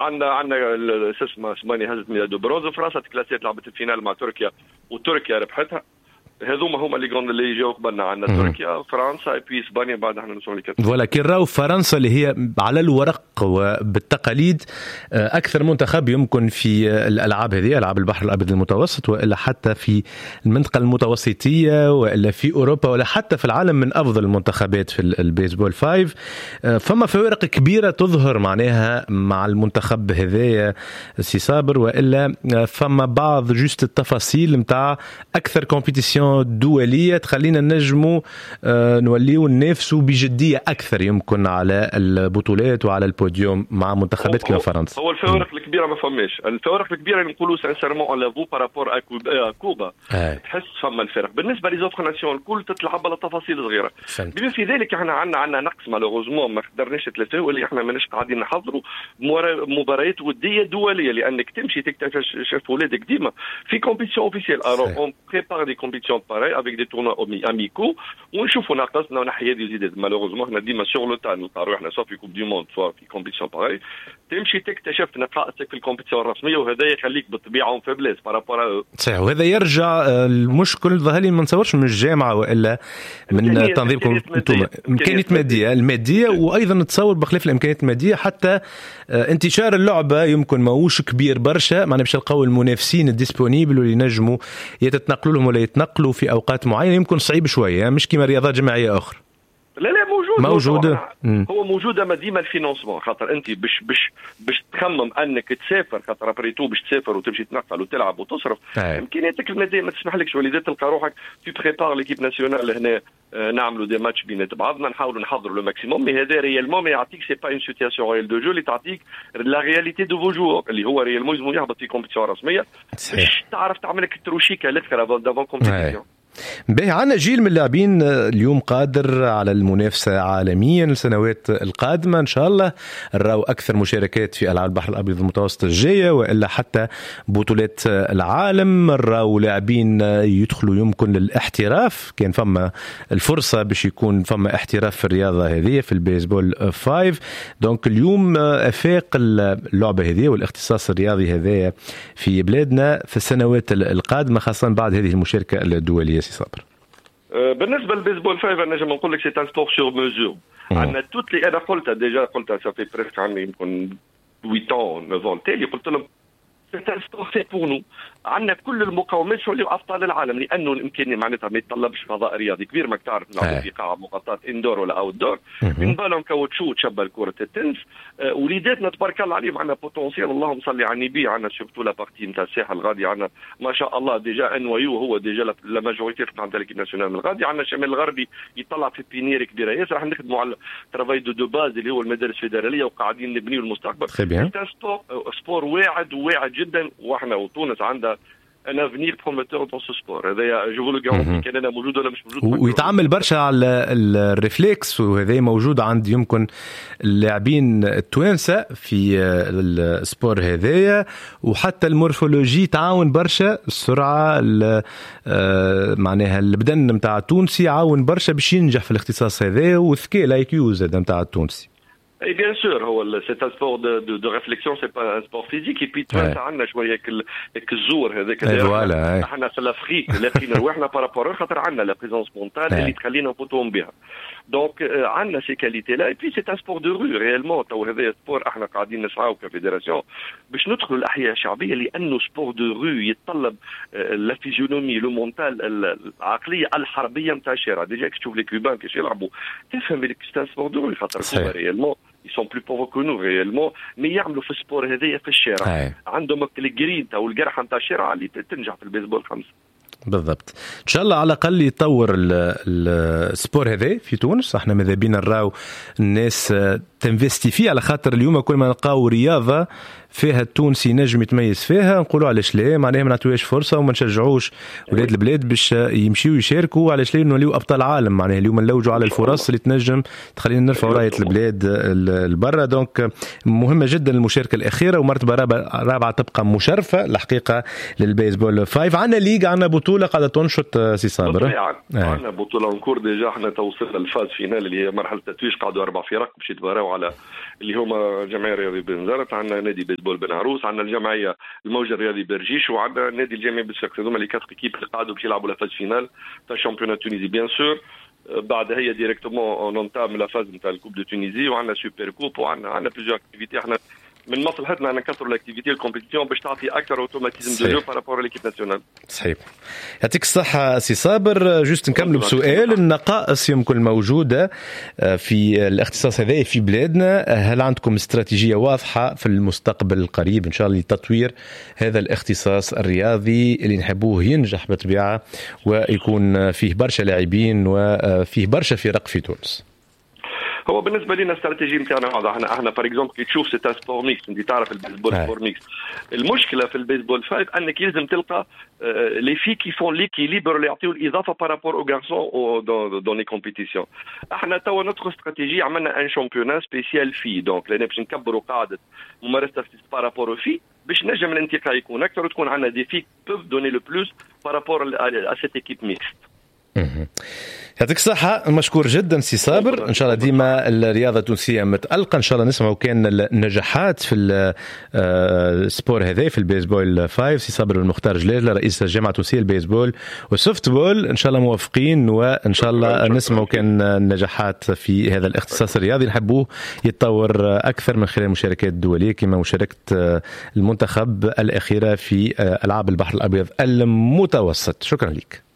عندنا شو اسمه، اسبانيا هزت médaille de bronze، وفرنسا تكلاسيت، لعبت ال finale مع تركيا وتركيا ربحتها. هذوما هما les grands اللي جاو قبلنا. عندنا تركيا، فرنسا et puis اسبانيا، بعد احنا نوصلوا. voilà، كي نراو فرنسا اللي هي على الورق وبالتقاليد اكثر منتخب يمكن في الالعاب هذه، العاب البحر الابيض المتوسط، والا حتى في المنطقة المتوسطيه، والا في اوروبا، ولا حتى في العالم، من افضل المنتخبات في البيسبول 5، فما فوارق كبيرة تظهر معناها مع المنتخب هذايا سي صابر، والا فما بعض juste التفاصيل نتاع اكثر compétition دولية تخلينا نجموا نوليو ننافسوا بجدية اكثر يمكن على البطولات وعلى البوديوم مع منتخبات كما فرنسا؟ هو الفوارق الكبيرة ما فماش. الفوارق الكبيرة اللي نقولوا sincèrement on l'avoue par rapport à كوبا تحس فما الفرق. بالنسبة les autres nations الكل تتلعب على تفاصيل صغيره. بما في ذلك احنا عندنا نقص malheureusement ما قدرناش ثلاثه، اللي احنا ماناش قاعدين نحضروا مباريات وديه دوليه، لانك تمشي تكتشف ولادك ديما في compétition officielle. alors on prépare des compétitions pareilles avec des tournois amicaux ونشوفوا ناقصنا ونحي هذه وزيد. malheureusement احنا ديما sur le tard نلقى روحنا soit في coupe du monde soit في compétition pareille، تمشي تكتشف نقائصك في ال compétition الرسميه، وهذا يخليك بالطبيعة en faiblesse par rapport. صحيح، وهذا يرجع المشكل ظهر لي ما نتصورش من الجامعة والا من تنظيمكم انتم، امكانيات ماديه، الماديه، وايضا نتصور بخلاف الامكانيات المادية حتى انتشار اللعبة يمكن ماهوش كبير برشا، معناها باش نلقاو المنافسين ال disponibles واللي ينجموا يتتنقلوا لهم ولا يتنقلوا في اوقات معينه، يمكن صعيب شويه، مش كما رياضات جماعية اخرى. لا لا، موجود. موجود. هو موجود، اما ديما ال financement، خاطر انت باش تخمم انك تسافر، خاطر après tout باش تسافر وتمشي تنقل وتلعب وتصرف، امكانياتك المادية ما تسمحلكش، ولذا تلقى روحك tu prépares l'équipe nationale هنا، نعملوا des matchs بينات بعضنا، نحاولوا نحضروا le maximum، mais هذا réellement ما يعطيك، c'est pas une situation réelle de jeu اللي تعطيك la réalité de vos joueurs، اللي هو réellement لازم يهبط في compétition رسمية باش تعرف تعمل لك التروشيكا الاخر d'avant compétition. باهي، عندنا جيل من اللاعبين اليوم قادر على المنافسة عالميا السنوات القادمة. إن شاء الله نراو أكثر مشاركات في ألعاب البحر الأبيض المتوسط الجاية وإلا حتى بطولات العالم، نراو لاعبين يدخلوا يمكن للاحتراف، كان فما الفرصة باش يكون فما احتراف في الرياضة هذه، في البيسبول 5. donc اليوم افاق اللعبة هذه والاختصاص الرياضي هذا في بلادنا في السنوات القادمة، خاصة بعد هذه المشاركة الدولية، سي صابر؟ بالنسبة للبيسبول 5 نجم نقول لك c'est un sport sur mesure. عندنا toutes les، انا قلتها déjà، قلتها ça fait presque عندي يمكن 8 ans، 9 ans تالي، قلت لهم c'est un sport fait pour nous. عندنا كل المقومات شو ابطال العالم، لانه الامكانية معناتها ما يتطلبش فضاء رياضي كبير، ماك تعرف نلعبوا في قاعة مغطاة indoor ولا outdoor، من بالهم كاوتشو تشبه كره التنس. وليداتنا تبارك الله عليهم عندنا potentiel، اللهم صل على النبي، عندنا surtout la partie نتاع الساحل الغادي، عندنا ما شاء الله déjà un noyau هو déjà la majorité نتاع l'équipe nationale من الغادي. عندنا الشمال الغربي يطلع في pépinière كبيرة ياسر. راح نخدموا على travail de base اللي هو المدارس الفيدراليه، وقاعدين نبنيو المستقبل. sport واعد وواعد جدا، واحنا وتونس عندها un avenir prometteur dans ce sport، هذا je vous le garantis، كان انا موجود ولا مش موجود. ويتعمل برشا على ال réflexe، وهذا موجود عند يمكن اللاعبين التوانسة في ال sport هذايا، وحتى ال morphologie تعاون برشا، السرعه، معناها البدن نتاع التونسي يعاون برشا باش ينجح في الاختصاص هذا، والذكاء ال IQ زاد نتاع التونسي. اي bien sûr، هو c'est un sport de réflexion، c'est pas un sport physique. et puis توانسة عندنا شوية الزور هذاك. voilà. احنا في l'Afrique لاقيين رواحنا par rapport، خاطر عندنا la présence mentale اللي تخلينا نفوتوهم بها. donc عندنا ces qualités-là et puis c'est un sport de rue réellement. تو هذا sport احنا قاعدين نسعاو ك fédération باش ندخلوا الاحياء الشعبيه، لانه sport de rue يتطلب la physionomie، le mental، العقلية الحربية نتاع الشارع. déjà تشوف les Cubains كيفاش يلعبوا تفهم اللي c'est un sport de rue، خاطر réellement ils sont plus pauvres que nous réellement، mais يعملوا في ال sport هذايا في الشارع. عندهم الجرينتا والقرحه نتاع الشارع اللي تنجح في البيسبول 5. بالضبط، ان شاء الله على الاقل يطور ال sport هذا في تونس. احنا ماذا بينا نراو الناس تنفستي فيه، على خاطر اليوم كل ما نلقاو رياضة فيها التونسي نجم يتميز فيها نقولوا علاش لا، معناها ما نعطيوهاش فرصة وما نشجعوش ولاد البلاد باش يمشيو يشاركوا؟ علاش لا نوليو ابطال عالم؟ معناها اليوم نلوجوا على الفرص اللي تنجم تخلينا نرفعوا رايه البلاد لبرا. donc مهمة جدا المشاركة الاخيرة ومرتبة رابعه تبقى مشرفة الحقيقة للبيسبول 5. عندنا ligue، عندنا بطوله قاعدة تنشط سي صابر؟ عندنا بطوله en cours. déjà احنا توصلنا لل phase finale اللي هي مرحلة التتويج، قعدوا اربع فرق باش يتباراو. نتاعو على اللي هما الجمعية الرياضية بنزرت، عندنا نادي بيسبول بن عروس، عندنا الجمعية الموجه الرياضي برجيش، وعندنا النادي الجامعي بصفاقس. هذوما les quatre équipes اللي قعدوا باش يلعبوا la phase finale تاع championnat tunisie. bien sûr بعد هي directement on entame la phase نتاع ال coupe de Tunisie، وعندنا super coupe، وعندنا plusieurs activités. احنا من مصلحتنا ان نكثروا l'activité، ال compétition، باش تعطي اكثر automatisme de jeu par rapport l'équipe nationale. صحيح، يعطيك الصحة سي صابر. juste نكملوا بسؤال: النقائص يمكن الموجودة في الاختصاص هذا في بلادنا، هل عندكم استراتيجية واضحة في المستقبل القريب إن شاء الله لتطوير هذا الاختصاص الرياضي اللي نحبوه ينجح بالطبيعة ويكون فيه برشا لاعبين وفيه برشا فرق في تونس؟ هو بالنسبة لنا الاستراتيجية نتاعنا واضحه. احنا par exemple كي تشوف c'est un sport mixte، انت تعرف البيسبول sport mixte. المشكلة في البيسبول 5 انك يلزم تلقى les filles qui font l'équilibre، اللي يعطيو الاضافة par rapport aux garçons dans les compétitions. احنا توا notre stratégie، عملنا un championnat spécial filles، donc لان باش نكبروا قاعدة ممارسة par rapport aux filles، باش نجم الانتقاء يكون اكثر وتكون عندنا des filles peuvent donner le plus par rapport à cette équipe mixte. يعطيك الصحة، مشكور جدا سي صابر. ان شاء الله ديما الرياضة التونسية متألقة، ان شاء الله نسمعوا كان النجاحات في ال sport هذا، في البيسبول 5. سي صابر المختار جلال، رئيس الجامعة التونسية للبيسبول والسوفت بول، ان شاء الله موفقين وان شاء الله نسمعوا كان النجاحات في هذا الاختصاص الرياضي، نحبوه يتطور اكثر من خلال المشاركات الدولية كما مشاركة المنتخب الأخيرة في ألعاب البحر الأبيض المتوسط. شكرا لك.